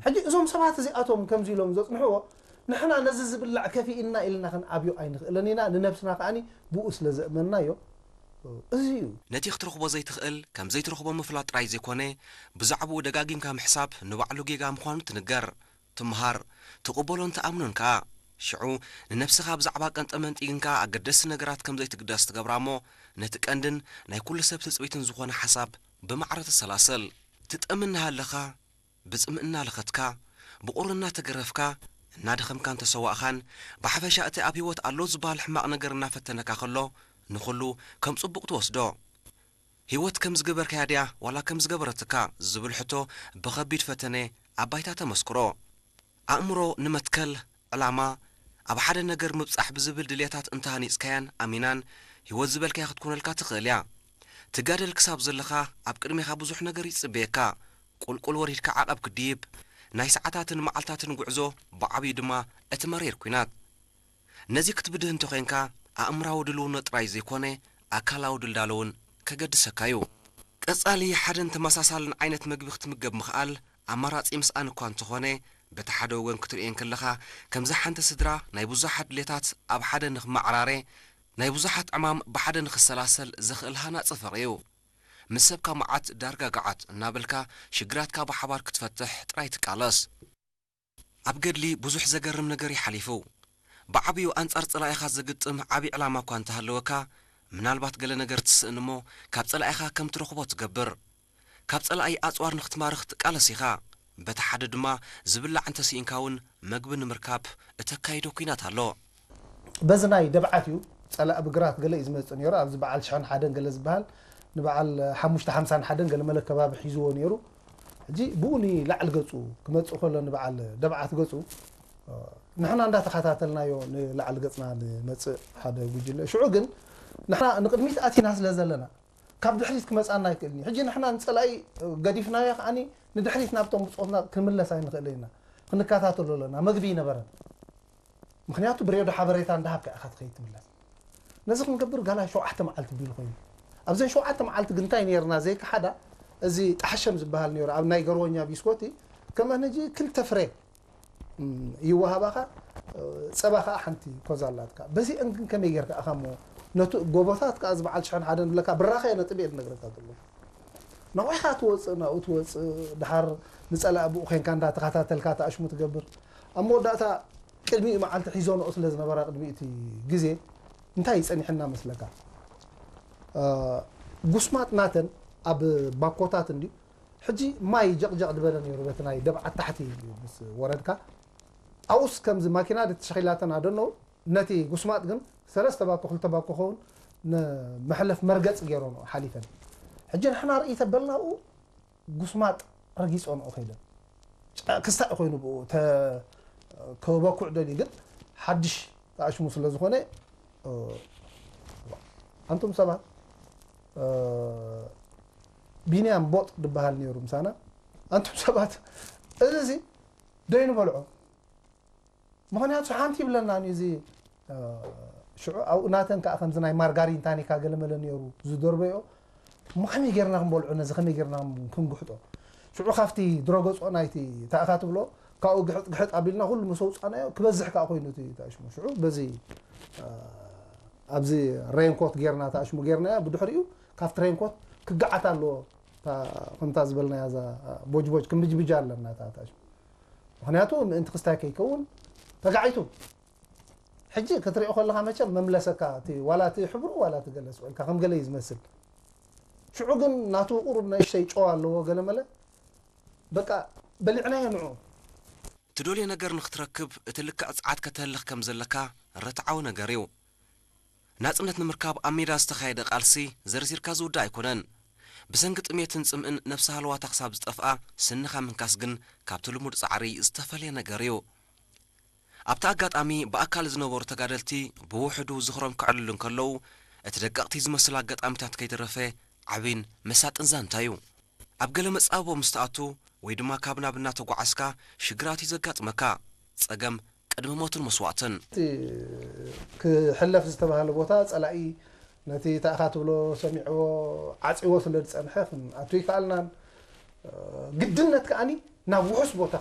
ሕጂ እዞም ሰባት እዚኣቶም ከምዚ ኢሎም ዘጽንሕዎ፣ ንሕና ነዚ ዝብላዕ ከፊእና ኢልና ክንኣብዮ ኣይንኽእልን ኢና። ንነብስና ከኣኒ ብኡ ስለ ዘእመንናዮ፣ እዚ እዩ። ነቲ ክትረኽቦ ዘይትኽእል ከም ዘይትረኽቦ ምፍላጥ ጥራይ ዘይኮነ፣ ብዛዕባኡ ደጋጊምካ ምሕሳብ ንባዕሉ ጌጋ ምዃኑ ትንገር፣ ትምሃር፣ ትቕበሎን ትኣምኖን ከኣ። ሽዑ ንነብስኻ ብዛዕባ ቀንጠመንጢ ግንካ ኣገደስቲ ነገራት ከም ዘይትግደስ ትገብራ እሞ፣ ነቲ ቀንድን ናይ ኩሉ ሰብ ትጽቢትን ዝኾነ ሓሳብ ብማዕረ ተሰላስል። ትጠሚ እናሃለኻ፣ ብጽምእ እናለኸትካ፣ ብቑሪ እናተገረፍካ፣ እናደኸምካን ተሰዋእኻን፣ ብሓፈሻ እቲ ኣብ ህይወት ኣሎ ዝበሃል ሕማቕ ነገር እናፈተነካ ከሎ፣ ንኹሉ ከም ጽቡቕ ትወስዶ። ህይወት ከም ዝገበርካያ ድያ ዋላ ከም ዝገበረትካ ዝብል ሕቶ ብኸቢድ ፈተነ ኣብ ባይታ ተመስክሮ። ኣእምሮ ንመትከል፣ ዕላማ፣ ኣብ ሓደ ነገር ምብጻሕ ብዝብል ድልየታት እንተሃኒጽካያን ኣሚናን፣ ህይወት ዝበልካያ ክትኮነልካ ትኽእል እያ። ትጋደል ክሳብ ዘለኻ ኣብ ቅድሜኻ ብዙሕ ነገር ይጽበየካ። ቁልቁል ወሪድካ ዓቐብ ክትድይብ፣ ናይ ሰዓታትን መዓልታትን ጉዕዞ፣ ብዓብዩ ድማ እቲ መሪር ኲናት። ነዚ ክትብድህ እንተኾይንካ ኣእምራዊ ድልውነት ጥራይ ዘይኮነ ኣካላዊ ድልዳለ እውን ከገድሰካ እዩ። ቀጻሊ ሓደን ተመሳሳልን ዓይነት መግቢ ክትምገብ ምኽኣል ኣማራጺ ምስኣን እኳ እንተኾነ፣ በቲ ሓደ ወገን ክትርእዮ እንከለኻ ከምዛ ሓንቲ ስድራ ናይ ብዙሓት ድሌታት ኣብ ሓደ ንኽመዓራረ፣ ናይ ብዙሓት ዕማም ብሓደ ንኽሰላሰል ዘኽእል ሃናጺ ፍቕሪ እዩ። ምስ ሰብካ መዓት ዳርጋ ገዓት እናበልካ ሽግራትካ ብሓባር ክትፈትሕ ጥራይ ትቃለስ። ኣብ ገድሊ ብዙሕ ዘገርም ነገር እዩ ሓሊፉ። ብዓብዩ ኣንጻር ጸላኢኻ ዘግጥም ዓቢ ዕላማ እኳ እንተሃለወካ፣ ምናልባት ገለ ነገር ትስእን እሞ ካብ ጸላኢኻ ከም ትረኽቦ ትገብር። ካብ ጸላኢ ኣጽዋር ንኽትማርኽ ትቃለስ ኢኻ። በቲ ሓደ ድማ ዝብላዕ እንተስኢንካ እውን መግቢ ንምርካብ እተካይዶ ኲናት ኣሎ። በዚ ናይ ደብዓት እዩ ጸላኢ ብግራት ገለ እዩ ዝመጽእ ነይሩ። ኣብዚ በዓል ሽሕን ሓደን ገለ ዝበሃል ንበዓል ሓሙሽተ ሓምሳን ሓደን ገለ መለ ከባቢ ሒዝዎ ነይሩ። ሕጂ ብኡ ንላዕሊ ገጹ ክመጽእ ከሎ ንበዓል ደብዓት ገጹ ንሕና እንዳተኸታተልናዮ ንላዕሊ ገጽና ንመጽእ ሓደ ጉጅለ። ሽዑ ግን ንሕና ንቕድሚት ኣቲና ስለ ዘለና ካብ ድሕሪት ክመጽኣና ኣይክእልን እዩ። ሕጂ ንሕና ንጸላኢ ገዲፍናዮ ከኣኒ ንድሕሪት ናብቶም ብጾትና ክንምለስ ኣይንኽእልን ኢና። ክንከታተሎ ኣለና። መግቢ ይነበረን። ምኽንያቱ ብሬድዮ ሓበሬታ እንዳሃብካ ኢኻ ትኸይድ ትምለስ። ነዚ ክንገብር ጋና ሸውዓተ መዓልቲ ቢሉ ኮይኑ ኣብዘን ሸውዓተ መዓልቲ ግን እንታይ ነርና ዘይከሓዳ እዚ ጣሕሸም ዝበሃል ነሩ ኣብ ናይ ገርወኛ ቢስኮቲ ከመን ሕጂ ክልተ ፍሬ ይወሃባኻ ጸባ ከዓ ሓንቲ ኮዛ ኣላትካ በዚአን ግን ከመይ ጌርካ ኢኻ እሞ ነቱ ጎቦታት ከዓ ዝበዓል ሽሕን ሓደን ብለካ ብራኸ ነጥብ እየ ዝነግረካ ዘሎ ነቑሕኻ ትወፅእ ናብኡ ትወፅእ ድሓር ንፀላእ ብኡ ኮይንካ እንዳተኸታተልካ ተኣሽሙ ትገብር ኣብ መወዳእታ ቅድሚኡ መዓልቲ ሒዞንኦ ስለ ዝነበራ ቅድሚ እቲ ግዜ እንታይ ጸኒሕና መስለካ? ጉስማጥ ናተን ኣብ ባኮታት እንድዩ ሕጂ ማይ ጀቕጀቕ ዝበለ ነይሩ በቲ ናይ ደብዓት ታሕቲ ምስ ወረድካ ኣብኡስ ከምዚ ማኪና ተሸኺላተን ኣደነው ነቲ ጉስማጥ ግን ሰለስተ ባኮ ክልተ ባኮ ኸውን ንመሕለፍ መርገፂ ገይሮንኦ ሓሊፈን ሕጂ ንሕና ርእይ ተበልና ኣብኡ ጉስማጥ ረጊጾንኦ ከይደን ክስታይ ኮይኑ ብኡ ከበኩዕ ደልዩ ግን ሓድሽ ተኣሽሙ ስለ ዝኾነ ኣንቱም ሰባት ቢንያም ቦጥ ዝበሃል ነይሩ ምሳና ኣንቱም ሰባት እዚ ዚ ደይኑ በልዖ ምኽንያቱ ሓንቲ ይብለና እዚ ሽዑ ኣብኡ ናተን ከዓ ከምዚ ናይ ማርጋሪን ታኒካ ገለመለ ነይሩ ዝደርበዮ እሞ ከመይ ጌርና ክንበልዖ ነዚ ከመይ ጌርና ክንግሕጦ ሽዑ ካብቲ ድረገጾ ናይቲ ታእኻ ትብሎ ካብኡ ግሕጥ ግሕጥ ኣቢልና ኩሉ ምስ ኣውፃናዮ ክበዝሕ ከዓ ኮይኑ እቲ ተኣሽሙ ሽዑ በዚ ኣብዚ ሬንኮት ጌርና ተኣሽሙ ጌርናዮ ብድሕሪኡ ካብቲ ሬንኮት ክገዓት ኣለዎ ከምታ ዝበልናያ እዛ ቦጅቦጅ ክምጅብጃ ኣለና ተኣሽሙ ምኽንያቱ ምእንቲ ክስታይ ከይከውን ተጋዒቱ ሕጂ ክትሪኦ ከለኻ መቸም መምለሰካ እቲ ዋላ እቲ ሕብሩ ዋላ እቲ ገለ ስቕ ኢልካ ከም ገለ እዩ ዝመስል ሽዑ ግን ናቱ ቁሩብ ንእሽተይ ጨው ኣለዎ ገለ መለ በቃ በሊዕናዮ ንዑ ትደልዮ ነገር ንክትረክብ እቲ ልክዕ ጸዓት ከተህልኽ ከም ዘለካ ርትዓዊ ነገር እዩ። ናጽነት ንምርካብ ኣብ ሜዳ ዝተኻየደ ቃልሲ ዘርዚርካ ዝውዳእ ኣይኮነን። ብሰንኪ ጥሜትን ጽምእን ነብሲ ሃለዋታ ክሳብ ዝጠፍኣ ስንኻ ምንካስ ግን ካብቲ ልሙድ ጻዕሪ ዝተፈልየ ነገር እዩ። ኣብቲ ኣጋጣሚ ብኣካል ዝነበሩ ተጋደልቲ ብውሕዱ ዝኽሮም ከዕልሉ እንከለዉ፣ እቲ ደቀቕቲ ዝመስል ኣጋጣሚታት ከይተረፈ ዓቢን መሳጥን ዛንታ እዩ። ኣብ ገለ መጻብቦ ምስ ትኣቱ ወይ ድማ ካብ ናብ እናተጓዓዝካ ሽግራት እዩ ዘጋጥመካ። ጸገም ቅድሚ ሞትን መስዋእትን። እቲ ክሕለፍ ዝተባህለ ቦታ ጸላኢ ነቲ ታእኻ ትብሎ ሰሚዕዎ ዓጺዎ ስለ ዝጸንሐ ክንኣቱ ይከኣልናን ግድነት ከኣኒ ናብ ውሑስ ቦታ